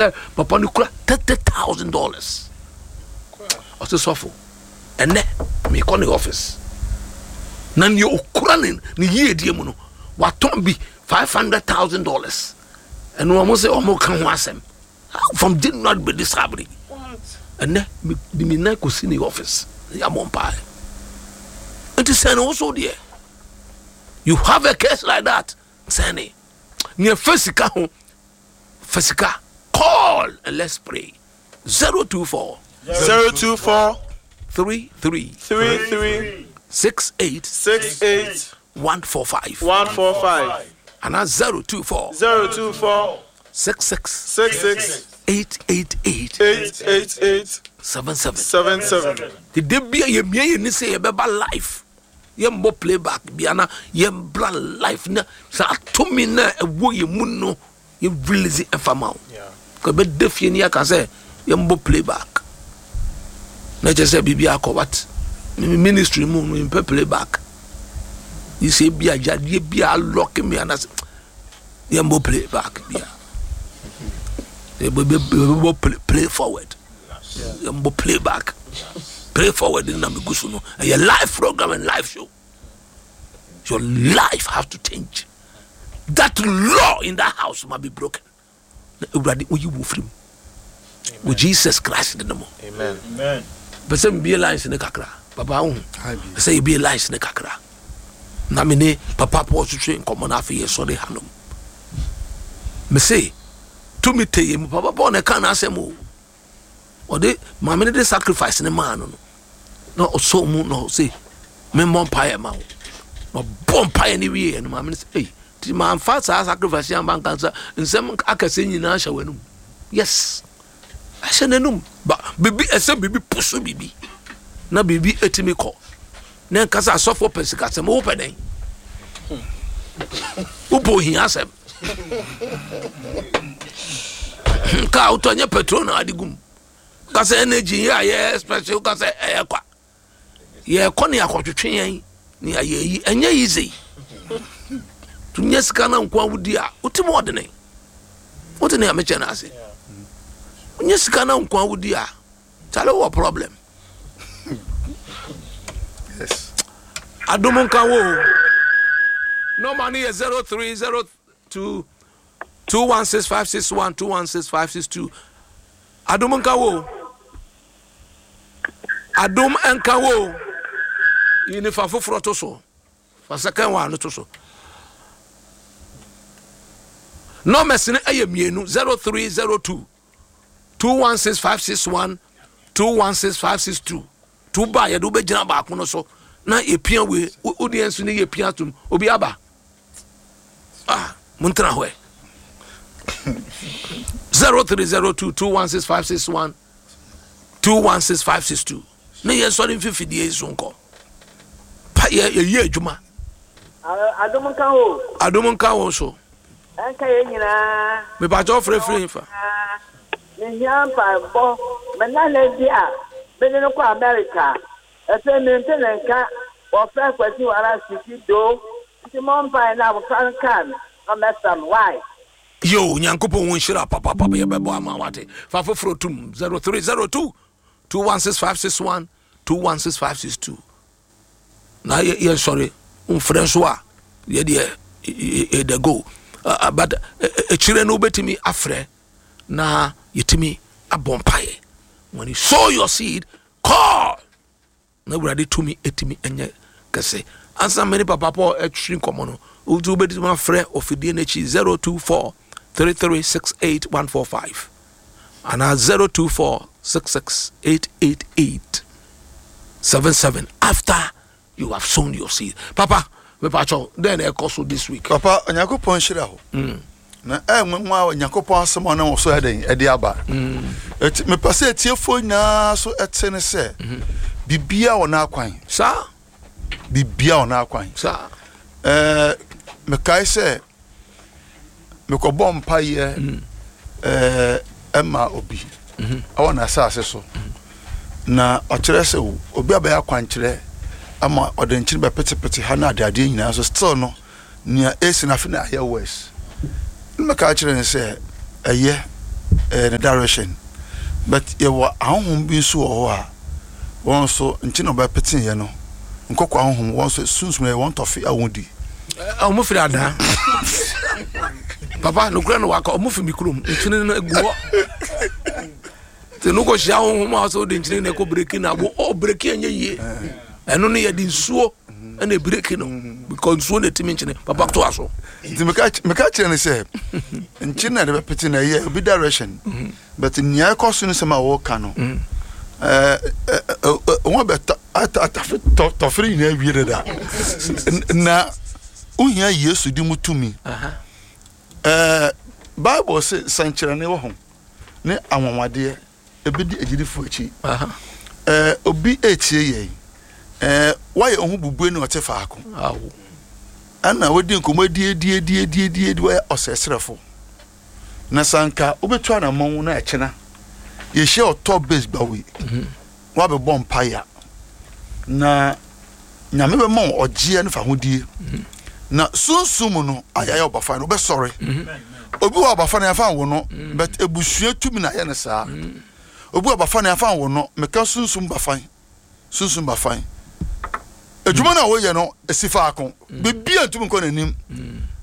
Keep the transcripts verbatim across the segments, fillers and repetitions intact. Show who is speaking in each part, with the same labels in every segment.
Speaker 1: Sɛ papa no kura thirty thousand dollars, ɔsɛ sɔfo, ɛnɛ mekɔ ne office na nea okura ne ne yiedie mu no, watɔn bi five hundred thousand dollars. Ɛno wɔn sɛ wɔn ka ho asɛm from January bɛdi saa bere. Ɛnɛ de mi nan kɔsi ne office, yɛ abɔ mpaeɛ. Nti sɛn ne woso deɛ, you have a case like that, sɛn ne nea fɛ sika ho, fɛ sika, call and let's pray. Zero two four
Speaker 2: zero two four
Speaker 1: three three
Speaker 2: three three
Speaker 1: six eight
Speaker 2: six eight
Speaker 1: one four five
Speaker 2: one four five
Speaker 1: and zero two four
Speaker 2: zero two four
Speaker 1: six six
Speaker 2: six six
Speaker 1: eight eight eight
Speaker 2: eight eight eight
Speaker 1: seven seven.
Speaker 2: seven seven.
Speaker 1: The day bia yɛ mia yɛ ni sɛ yɛbɛba live, yɛmbɔ playback bia na yɛmbra live na saa tumi na ɛwɔ yɛ mu no, yɛ release ɛfa ma wo. Ka bɛda fie ni aka sɛ yɛmbɔ playback na kyerɛ sɛ biribi akɔ, but me ministry mu no, mpɛ playback yi sɛ bi a yadeɛ bi a alɔke me anasɛ yɛmbɔ playback bia, yɛbɛbɔ play, play forward, yɛmbɔ playback. Play forward na megu so no, ɛyɛ live program and live show. Your life has to change. That law in that house must be broken na Awurade oyi wo firi mu wɔ Jesus Christ de no mu.
Speaker 2: Amen.
Speaker 1: Pɛ sɛ mbie lines ne kakra, papa wo pɛ sɛ yɛbie lines ne kakra na me ne papa Paul twetwe nkɔmmɔ no. Afei yɛsɔre hanom, mese tumi te yɛ mu. Papa Paul na ɛka n'asɛm o, ɔde maame no de sacrifice ne maa no no na ɔsɔ mu na ɔse memmɔ mpaeɛ ma wo, na ɔbɔ mpaeɛ no wieɛ no, maame no sɛ, ei, nti mamfa saa sacrifice yi amba nka nsa nsɛm akɛseɛ nyinaa hyɛ w'anum. Yes, ɛhyɛ n'anum ba biribi, ɛsɛ biribi pusu biribi na biribi etimi kɔ na nkasa. Asɔfoɔ pɛ sikasɛm, wopɛ dɛn? Wopɛ ohia asɛm. Kaa wotɔ nyɛ petrol na ade gum kasa, energy yɛ a yɛ special kasa, ɛyɛ kwa. Yɛkɔ ne akɔtwetwe yɛn ne ayɛ yi, ɛnyɛ easy. To nyɛ sika na nko awodi a wotim ɔdene wote ne amekyɛ no ase. Wonyɛ sika na nko awodi a, kyale, wɔ problem.
Speaker 3: Yes.
Speaker 1: Adom nka wo. Nɔma no yɛ zero three zero two two one six five six one, two one six five six two. Adom nka wo, adom nka wo. Yi nifa foforɔ to so, fa second one no to so. Numbers no ɛyɛ mmienu: zero three zero two two one six five six one, two one six five six two. To ba, yɛde wobɛgyina baako no so na yɛpia wei. Wodeɛ nso ne yɛpia tom. Obi aba ah, montena hɔ ɛ. zero three zero two two one six five six one, two one six five six two ne yɛnsɔre mfifidie yi so nkɔ pa. yɛ yɛyɛ adwuma.
Speaker 4: Adom nka ho.
Speaker 1: Adom nka wo so.
Speaker 4: Ɛnka yɛn nyinaa.
Speaker 1: Mepakyɛ, wofrɛfiri fa?
Speaker 4: Mehia mpaebɔ. Me nana bi a mede no kɔ America, ɛfɛ mente ne nka. Wɔfrɛ Kwasi Wara Sisi Do, nti mɔ mpae na abɔfra no kaa no na ɔmɛsra no wae.
Speaker 1: Yo, Nyankopɔn wo nhyira papapapa. Yɛbɛbɔ ama wate. Fa foforɔ tum: zero three zero two two one six five six one, two one six five six two na yɛnsɔre. Mfrɛ nso a, yɛdeɛ yɛde go, uh, but akyire no wobɛtumi afrɛ na yɛtumi abɔ mpaeɛ. When you sow your seed, call na Awurade tumi ɛtumi ɛnyɛ kɛse. Ansa mene papa Paul ɛtwiri nkɔmmɔ no, wotu wobɛtumi afrɛ ɔfidie no akyi: zero two four three three six eight one four five anaa zero two four six six eight eight eight seven seven. After you have sown your seed, papa, mepakyɛw, dɛn na ɛkɔ so this week?
Speaker 3: Papa, Onyankopɔn nhyira wo. Na ɛnwanwa a Onyankopɔn asɛm a ɔnam wo so ɛdɛn ɛde aba. Ɛti mepɛ sɛ atiefoɔ nyinaa so ɛte ne sɛ biribiaa wɔ n'akwan.
Speaker 1: Saa.
Speaker 3: Biribiaa wɔ n'akwan.
Speaker 1: Saa.
Speaker 3: Ɛɛ mekae sɛ mekɔbɔ mpayɛ ɛɛ ɛma obi ɛwɔ n'asase so, na ɔkyerɛ sɛ obi abɛyɛ akwankyerɛ ama ɔde nkyene bɛpetepete ha na adeadeɛ nyinaa so, still no nea esi na afe na ayɛ worse. Ne mɛka kyerɛ no sɛ ɛyɛ ɛɛ ne direction, but yɛwɔ ahonhom bi nso wɔ hɔ a wɔn nso nkyɛn na ɔbɛpete yɛ no nkɔkɔ ahonhom, wɔn nso sunsum yɛ wɔn tɔfe a wɔn di.
Speaker 1: Ɔmo firi adaa papa nokura no waka, ɔmo firi mi kurom, nkyene no egu hɔ nti no kɔ hyia honhom a ɔsɛ wode nkyene na ɛkɔ breki na wo ɔ breki ɛnyɛ yie. Ɛno no yɛde nsuo ɛna breki no because nsuo na ɛtumi nkyene. Papa, to aso.
Speaker 3: Nti meka meka kyerɛ no sɛ nkyene na yɛde bɛpete na ɛyɛ obi direction, but nea ɛkɔ so no, sɛm a wɔka no, ɛɛ ɛɛ wɔn bɛ atafe tɔfere nyinaa wie dada na wohia Yesu di mu tumi. ɛɛ Bible sɛ sɛnkyerɛnne wɔ ho ne anwanwadeɛ ebi di agyidifo akyi. ɛɛ obi etie yɛn, ɛɛ wayɛ ɔho bubue ne ɔte faako ɛna wodi nkɔmɔ edi edi edi edi edi edi, wayɛ ɔsɛsrɛfo na sanka wobɛtu anammɔn na ɛkyena yɛhyia ɔtɔ base gbawe, wabɛbɔ mpaeɛ na Nyame bɛma wo ɔgyeɛ no fa hodie na sunsum mu no ayɛ ɔbafa no wobɛsɔre. Obi wɔ ɔbafa no yɛfa wo no, but ebusua tumi na ayɛ no saa. Obi wɔ ɔbafa no yɛfa wo no, meka sunsum bafan, sunsum bafan adwuma no a woyɛ no esi faako, biribi a ntumi nkɔ n'anim.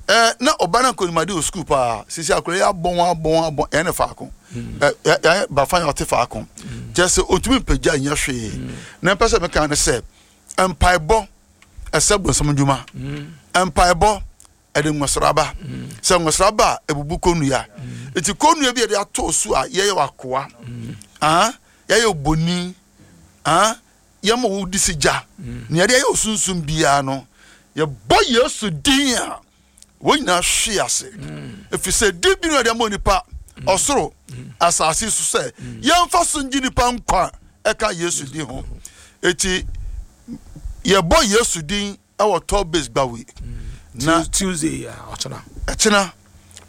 Speaker 3: ɛɛ na ɔba na nkonimade wɔ sukuu paa, sisi akora yi abɔn abɔn abɔn, ɛyɛ ne faako, ɛ ɛ bafa yɛ ɔte faako kyerɛ sɛ otumi mpagya nyɛ hwee. Na mpɛ sɛ meka ne sɛ mpaebɔ ɛsɛ bonsam dwuma, mpaebɔ ɛde nwosraba, sɛ nwosraba a ebubu kɔnnua. Nti kɔnnua bi a yɛde ato so a yɛyɛ wakoa, ah, yɛyɛ oboni, ah, yɛma wo di si gya nea yɛde ayɛ osunsun biara no, yɛbɔ Yesu din a wɔn nyinaa hwe ase, ɛfiri sɛ din bi no yɛde ama nipa ɔsoro asase so sɛ yɛmfa so ngye nipa nkwa ɛka Yesu din ho. Eti yɛbɔ Yesu din ɛwɔ Top Base Gbawe na
Speaker 1: Tuesday a ɔkyena.
Speaker 3: Ɛkyena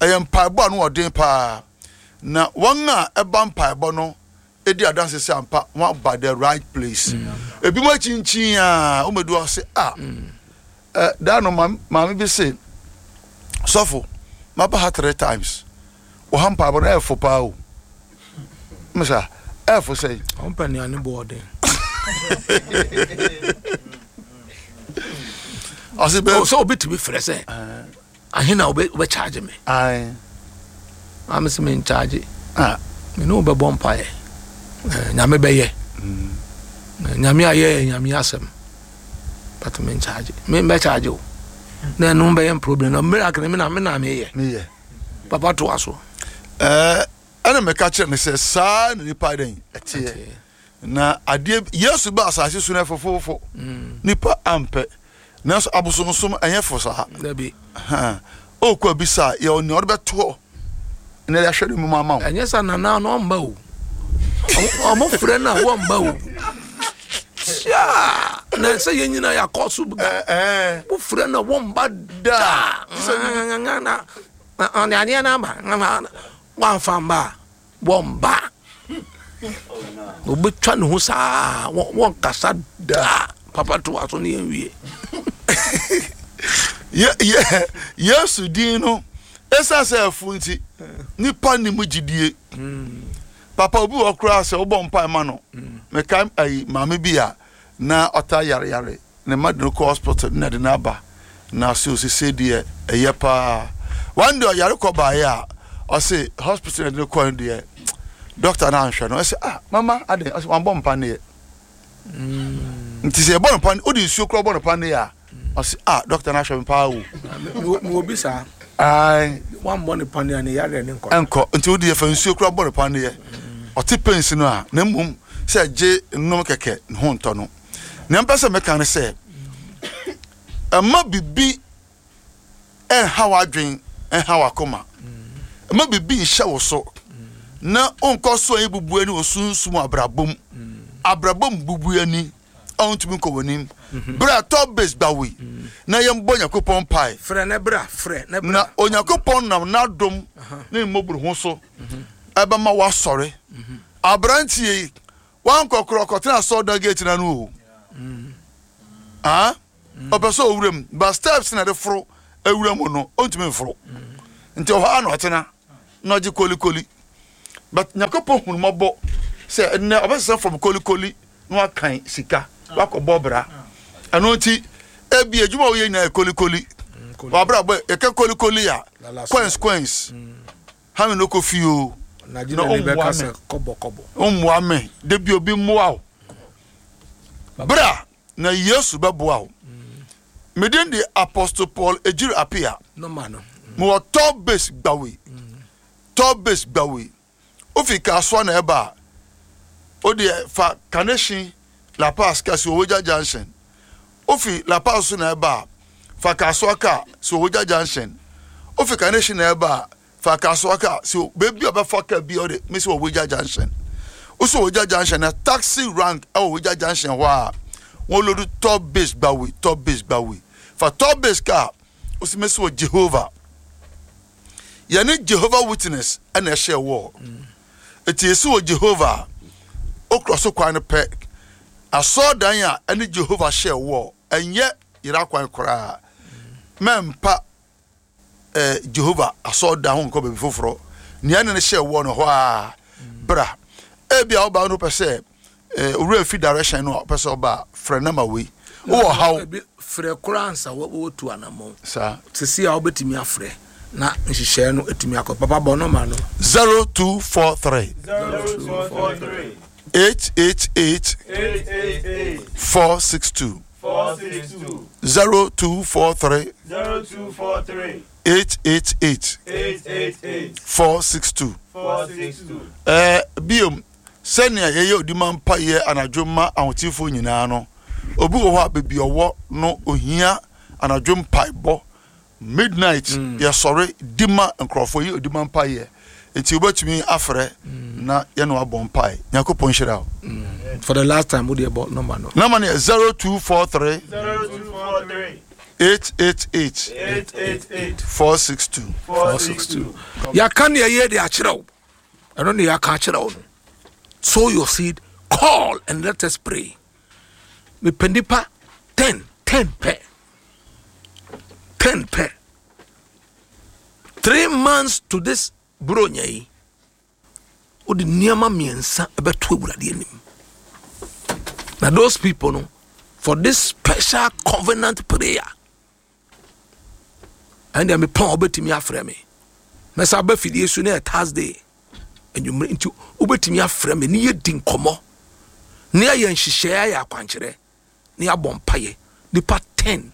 Speaker 3: ɛyɛ mpaebɔ a no ɔden paa, na wɔn a ɛba mpaebɔ no edi adanse sɛ ampa wɔn aba the right place. Ebi mo akyinkyin a wɔn edu ase a ɛ daa no, maame maame bi se, "Sɔfo, maba ha three times, wɔha mpaebɔ no ɛɛfo paa o." Mesa ɛɛfo sɛ
Speaker 1: ɔmpɛ nnuane bɔ ɔden.
Speaker 3: Ɔsi bɛ
Speaker 1: sɛ obi tumi frɛ sɛ ahe na wobɛ wobɛkyagye me?
Speaker 3: Ayi.
Speaker 1: Maame sɛ menkyagye.
Speaker 3: Ah.
Speaker 1: Me ne wobɛbɔ mpaeɛ. Eh, Nyame bɛyɛ. Eh, Nyame ayɛ yɛ Nyame asɛm, but menkyagye, membɛkyagye o na ɛno bɛyɛ problem na miracle me na me na meyɛ.
Speaker 3: Meyɛ.
Speaker 1: Papa, toa so.
Speaker 3: ɛɛ ɛna mɛka kyerɛ ne sɛ saa na nipa dɛn ɛteɛ na adeɛ Yesu ba asase so no ɛfofofo nipa ampɛ, nanso abosonsom ɛnyɛ fo saa.
Speaker 1: Dabi.
Speaker 3: Ɔkɔ abisa a yɛ ɔnea ɔde bɛtoɔ na yɛde ahwɛ no mu ama wo.
Speaker 1: Ɛnyɛ sa nana no ɔmba o. Ɔmo- ɔmo frɛ no a wɔmba o. Sia na sɛ yɛn nyinaa yɛakɔ so da.
Speaker 3: Ɛɛ.
Speaker 1: Wofrɛ no a wɔmba da. Na ɔde adeɛ no aba, woamfa mba a wɔmba, obɛtwa ne ho saa, wɔ- wɔnkasa da. Papa, toa so ne yɛnwie.
Speaker 3: Ye ye yesu din no, ɛsiane sɛ ɛfo nti nipa ni mu gyidie. Papa, obi wɔ koraa sɛ wobɔ mpae ma no, meka ayi maame bi a na ɔta yareyare, ne ma de no kɔ hospital na de no aba na so osese deɛ ɛyɛ paa. One day ɔyare kɔ baeɛ a ɔse hospital na de no kɔ no deɛ, doctor no anhwɛ no. Ɔsɛ, "Ah, mama, aden?" Ɔsɛ wambɔ mpa neɛ. Nti sɛ yɛbɔ no pa, wode nsuo koraa bɔ no pa neɛ a, ɔsɛ, "Ah, doctor no ahwɛ me paa o."
Speaker 1: Mewɔ bi saa.
Speaker 3: Ae.
Speaker 1: Wammɔ ne pane a ne yareɛ ne nkɔ.
Speaker 3: Ɛnkɔ. Nti wode yɛfa nsuo koraa bɔ no pa neɛ, ɔte pains no a, na mmom sɛ gye nnom kɛkɛ ne ho ntɔ no. Nea mpɛ sɛ meka ne sɛ ɛma bibi ɛnha w'adwen, ɛnha w'akoma, ɛma bibi nhyɛ wo so na wonkɔ so a bubu ani wɔ sunsum abrabom, abrabom bubu ani a wontumi nkɔ w'anim. Berɛ a Top Base Gbawe na yɛmbɔ Nyankopɔn mpae.
Speaker 1: Frɛ ne bra, frɛ ne bra.
Speaker 3: Na Onyankopɔn nam n'adom ne mmɔboro ho so ɛbɛma woasɔre. Aberanteɛ yi wankɔ korɔ kɔtena asɔredan gate na no o. Ah, ɔpɛ sɛ ɔwura mu but steps na ɛde foro awura mu no, ɔntumi mforo, nti ɔhɔ a na ɔtena na ɔgye kolikoli. But Nyankopɔn hunu mmɔbɔ sɛ ɛnɛ ɔbɛsesa from kolikoli na wakan sika wakɔbɔ bra. Ɛno nti ebi adwuma a woyɛ nyinaa yɛ kolikoli. Wabra bɔ yɛka kolikoli a, coins coins hami no kɔ fie o.
Speaker 1: Na
Speaker 3: Na
Speaker 1: gyina ne
Speaker 3: ɔmmoa
Speaker 1: bɛka
Speaker 3: me.
Speaker 1: sɛ kɔbɔ kɔbɔ.
Speaker 3: Mmoa me de bi, obi mmoa wo bra na Yesu bɛboa wo. Medin de Apostle Paul Egyiri Apia.
Speaker 1: Nɔma no?
Speaker 3: Mewɔ Top Base Gbawe. Top Base Gbawe, wofi Kasoa na ɛba a, wodeɛ fa Kaneshie Lapaz ka si Owogya Junction. Wofi Lapaz so na ɛba a, fa Kasoa ka si Owogya Junction. Wofi Kaneshie na ɛba a, fa Kasoa ka si beebi a ɔbɛfa ka bi a ɔde mesi Owogya Junction. Wosi Owogya Junction na taxi rank ɛwɔ Owogya Junction hɔ a, wɔn load Top Base Gbawe. Top Base Gbawe, fa Top Base kaa, wosi mesi wɔ Jehovah, yɛne Jehovah Witness ɛna ɛhyɛ wɔ eti esi wɔ Jehovah a, okura so kwan no pɛ, asɔɔdan a ɛne Jehovah hyɛ wɔ ɛnyɛ yɛrɛ kwan koraa. Mɛmpa ɛɛ Jehovah asɔɔdan ho nkɔ baabi foforɔ. Nea ɛne no hyɛ wɔ no hɔ a, bra. Ebi a ɔbaa no pɛ sɛ ɛɛ owurɛ fi direction no a ɔpɛ sɛ ɔba a, frɛ nama wei wowɔ haw.
Speaker 1: Ebi frɛ koraa ansa wɔ- wɔtu anammɔn.
Speaker 3: Saa.
Speaker 1: Sisi a wobɛtumi afrɛ na nhyehyɛeɛ no atumi akɔ. Papa, bɔ nɔma no.
Speaker 3: Zero two four three
Speaker 2: Zero two four three
Speaker 3: eight eight eight
Speaker 2: eight eight eight
Speaker 3: four six two.
Speaker 2: four six two.
Speaker 3: Zero two four three
Speaker 2: Zero two four three
Speaker 3: eight eight eight
Speaker 2: eight eight eight
Speaker 3: four six two.
Speaker 2: four six two.
Speaker 3: Ɛɛ biom, sɛnea yɛyɛ odima mpayɛ anadwo ma ahotefoɔ nyinaa no, obi wɔ hɔ a beebi ɔwɔ no ohia anadwo mpaebɔ, midnight yɛsɔre di ma nkurɔfoɔ yi odima mpayɛ, nti wobɛtumi afrɛ na yɛne wabɔ mpae. Nyankopɔn nhyira wo.
Speaker 1: For the last time, wode bɔ nɔma no.
Speaker 3: Nama no yɛ zero two four three
Speaker 2: Zero two four three
Speaker 3: eight eight eight
Speaker 2: eight eight eight
Speaker 3: four six two.
Speaker 2: four six two.
Speaker 1: Yɛaka ne ɛyɛ de akyerɛ wo, ɛno ne yɛaka akyerɛ wo no. Sow your seed, call and let us pray. Mepɛ nipa ten, ten pɛ, ten pɛ. Three months to this buronya yi, wode nneɛma mmiɛnsa ɛbɛto Awurade anim na those people no, for this special covenant prayer, ɛndeɛ mepɔn a, wobɛtumi afrɛ me. Mɛsa aba fidie so ne yɛ Thursday anwummerɛ, nti wobɛtumi afrɛ me ne yɛdi nkɔmmɔ ne yɛayɛ nhyehyɛeɛ, ayɛ akwankyerɛ ne yɛabɔ mpayɛ. Nipa ten,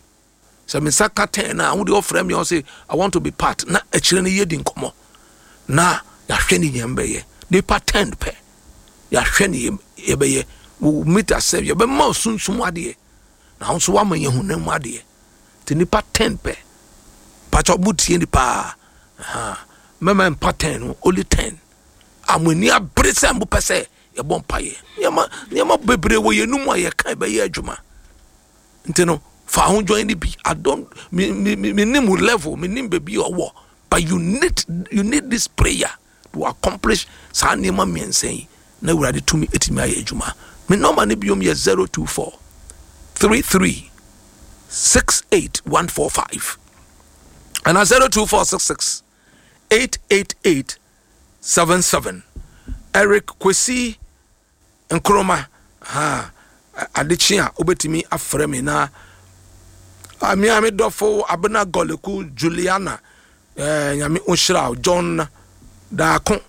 Speaker 1: sɛ me nsa ka ten a, wode ɔfrɛ me a, ɔse, "I want to be part," na akyirɛ no yɛdi nkɔmmɔ na yɛahwɛ ne yɛn bɛyɛ. Nipa ten pɛ, yɛahwɛ ne yɛn- yɛbɛyɛ. We will meet ourselves, yɛbɛma wo sunsum adeɛ na wo nso woama yɛn honam mu adeɛ. Nti nipa ten pɛ, pakyɛ mo tie ni paa. Aha. Mɛma mpa ten no, only ten a mo ani abere sɛ mopɛ sɛ yɛbɔ mpayɛ. Nneɛma nneɛma bebree wɔ yɛn mu a yɛka ɛbɛyɛ adwuma, nti no fa ho join ni bi. I don't me me me me nim wo level, me nim baabi a ɔwɔ, but you need you need this prayer to accomplish saa nneɛma mmiɛnsa yi na Awurade tumi etumi ayɛ adwuma. Me nɔɔma no biom yɛ zero two four three three six eight one four five ana zero two four six six eight eight eight seven seven. Eric Kwesi Nkroma ha, adekye a wobɛtumi afrɛ me na amea me dɔfo Abena Gɔleku Juliana, eh, Nyame nhyira wo. John Daako,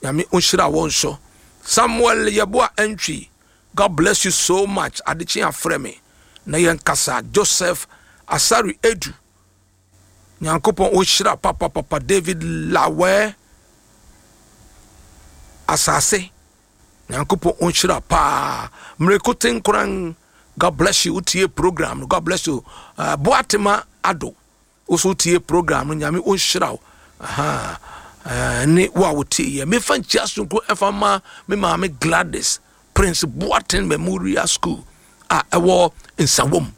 Speaker 1: Nyame nhyira wo nso. Samuel Yɛboa Antwi, God bless you so much. Adekye afrɛ me na yɛnkasa. Joseph Asari Edu, Nyankopɔn ɔnhyira papapapa. David Lawɛ Asase, Nyankopɔn ɔnhyira paa. Mmereko Tenkoran, God bless you. Wotie program no, God bless you. uh, Boatema Ado, woso wotie program no, Nyame ɔnhyira wo. Aha. Uh, ne wo a wotie yɛ, mefa nkyia sonko ɛfa ma me maame Gladys, Prince Boateng Memorial School a ɛwɔ Nsawom.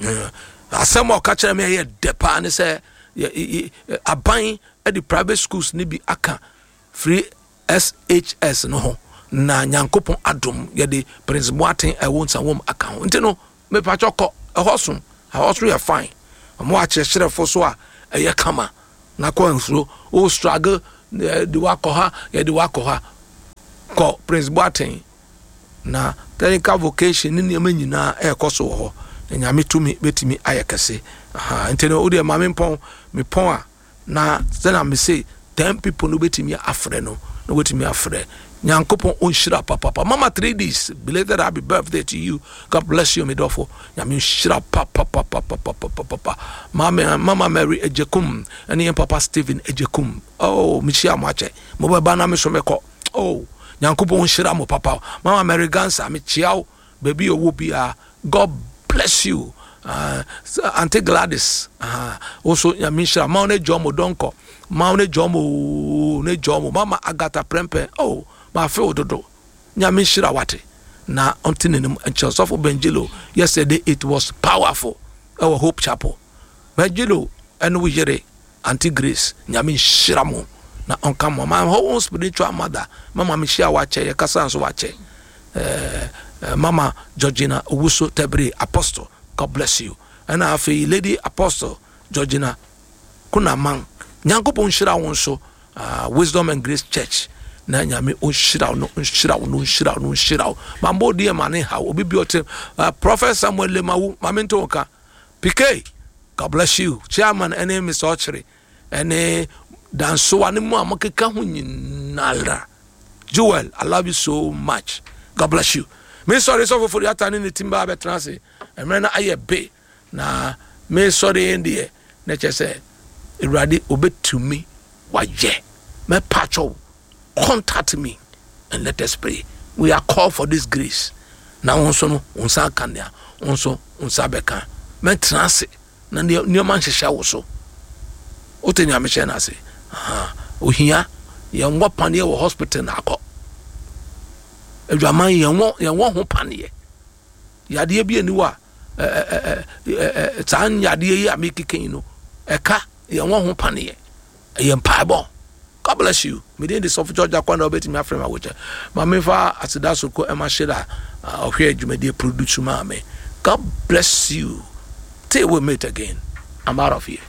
Speaker 1: Eh, asɛm a ɔka kyerɛ me ɛyɛ dɛ paa ne sɛ yɛ- yɛ- yɛ- aban de private schools ne bi aka free S H S no ho, na Nyankopɔn adom yɛde Prince Boateng ɛwɔ Nsawom aka ho. Nti no mepakyɛ kɔ ɛhɔ so, ɛhɔ so yɛ fine. Ɔmo akyerɛkyerɛfo so a ɛyɛ kama na kɔ nsuo o struggle Yɛde wakɔ ha, yɛde wakɔ ha. Kɔ Prince Boateng na technical vocation ne nneɛma nyinaa ɛrekɔ so wɔ hɔ, na Nyame tumi bɛtumi ayɛ kɛse. Aha, nti no wodeɛ ma mempɔn mepɔn a, na sɛna me se ten people no wobɛtumi afrɛ no, na wobɛtumi afrɛ. Nyankopɔn ɔnhyira papapa. Mama three Ds, belated happy birthday to you. God bless you, medɔfo. Nyame nhyira papapapapapapapa. Mama, Mama Mary Ejekum ɛne yɛn papa Stephen Ejekum. Oh, mehyia mo akyɛ, mobɛba na me so mekɔ. Oh, Nyankopɔn nhyira mo papa. Mama Mary Gansa, mekyia wo baabi a ɔwɔ biara. God bless you. uh, Auntie Gladys, uh, also Nyame nhyira ma wo ne jɔn mo dɔnkɔ ma wo ne jɔn mo ne jɔn mo. Mama Agatha Prempeh, oh, ma fe wo dodo. Nyame nhyira wate na ɔnte n'anim nkyɛn. Sɔfo Benjilo, yesterday it was powerful ɛwɔ Hope Chapel. Benjilo ɛne wo yere Auntie Grace, Nyame nhyira mo na ɔnka mo. My whole spiritual mother, mama, mehyia wakyɛ, yɛkasa nso wakyɛ. eh, eh, mama Georgina Owusu Tebere Apostle, God bless you. Ɛna afei Lady Apostle Georgina Kunaman, Nyankopɔn nhyira wo nso. uh, Wisdom and Grace Church, na Nyame ɔnhyira wo no, nhyira wo no, nhyira wo no, nhyira wo. Mambɔ odi ma ne haw obi bi ɔte. uh, Prophet Samuel Lemawu, mame nto wo ka. P K, God bless you. Chairman ɛne Mister Ɔkyere ɛne Dansoa ne mu a mokeka ho nyinara. Joel, I love you so much. God bless you. Me sɔre sɔfo fori ata ne ne team ba abɛtena ase. Mmerɛ no ayɛ be na me sɔre yɛn deɛ na kyerɛ sɛ Awurade obɛtumi wayɛ. Mɛpa kyɛw, contact me and let us pray. We are called for this grace. Na wo nso no, wo nsa aka nea wo nso wo nsa bɛka. Mɛtena ase na nneɛma nhyehyɛ wo so. Wote nea mehyɛ no ase? Ohia yɛnwɔ paneɛ wɔ hospital na akɔ adwaman, yɛnwɔ yɛnwɔ ho paneɛ. Yadeɛ bi ani hɔ a, saa yadeɛ yi a mekeka yi no, ɛka yɛnwɔ ho paneɛ, ɛyɛ mpaebɔ. God bless you. Mede de Sɔfo George Akwa na wobɛtumi afrɛ me awokyɛ ma memfa aseda so ko ɛma hyerɛ a ɔhwɛ adwumadie produce maa me. God bless you till we meet again. I'm out of here.